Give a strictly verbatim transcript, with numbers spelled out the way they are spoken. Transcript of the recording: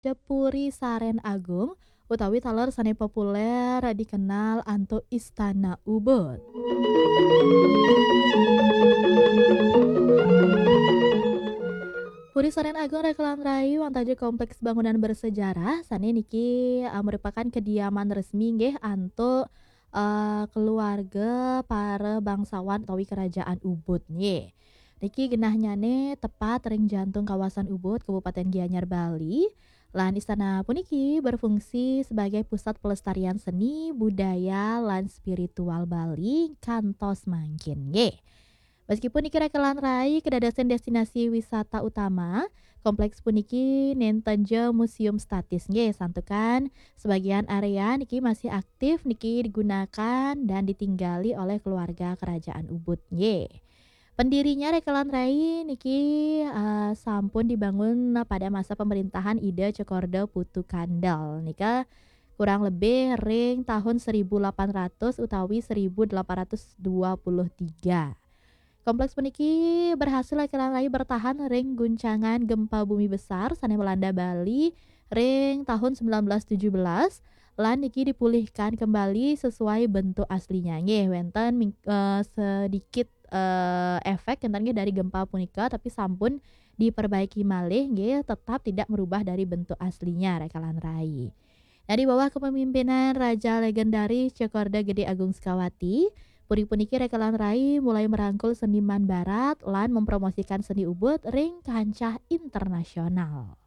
Puri Saren Agung, utawi taler sane populer dikenal antuk Istana Ubud. Puri Saren Agung Rekelan Rai wonten ing kompleks bangunan bersejarah sane niki, eh, merupakan kediaman resmi nggih antuk, eh, keluarga para bangsawan utawi kerajaan Ubud nggih. Niki genahnyane tepat ring jantung kawasan Ubud, Kabupaten Gianyar, Bali. Lan istana puniki berfungsi sebagai pusat pelestarian seni, budaya, lan spiritual Bali kantos mangkin nggih. Meskipun niki Rekelan Rai kedadosan destinasi wisata utama, kompleks puniki nenten ja museum statis nggih, santukan sebagian area niki masih aktif niki digunakan dan ditinggali oleh keluarga kerajaan Ubud nggih. Pendirinya Rekelan Rai niki, eh, sampun dibangun pada masa pemerintahan Ida Cokorda Putu Kandel. Nika kurang lebih ring tahun seribu delapan ratus utawi seribu delapan ratus dua puluh tiga. Kompleks puniki berhasil Rekelan Rai bertahan ring guncangan gempa bumi besar sane melanda Bali ring tahun sembilan belas tujuh belas, lan niki dipulihkan kembali sesuai bentuk aslinya. Nggih, wenten ming-, eh, sedikit, eh, efek enten nggih dari gempa punika, tapi sampun diperbaiki malih nggih, tetap tidak merubah dari bentuk aslinya Rekelan Rai. Nah, di bawah kepemimpinan Raja legendaris Cokorda Gede Agung Sukawati, puri puniki Rekelan Rai mulai merangkul seniman barat lan mempromosikan seni Ubud ring kancah internasional.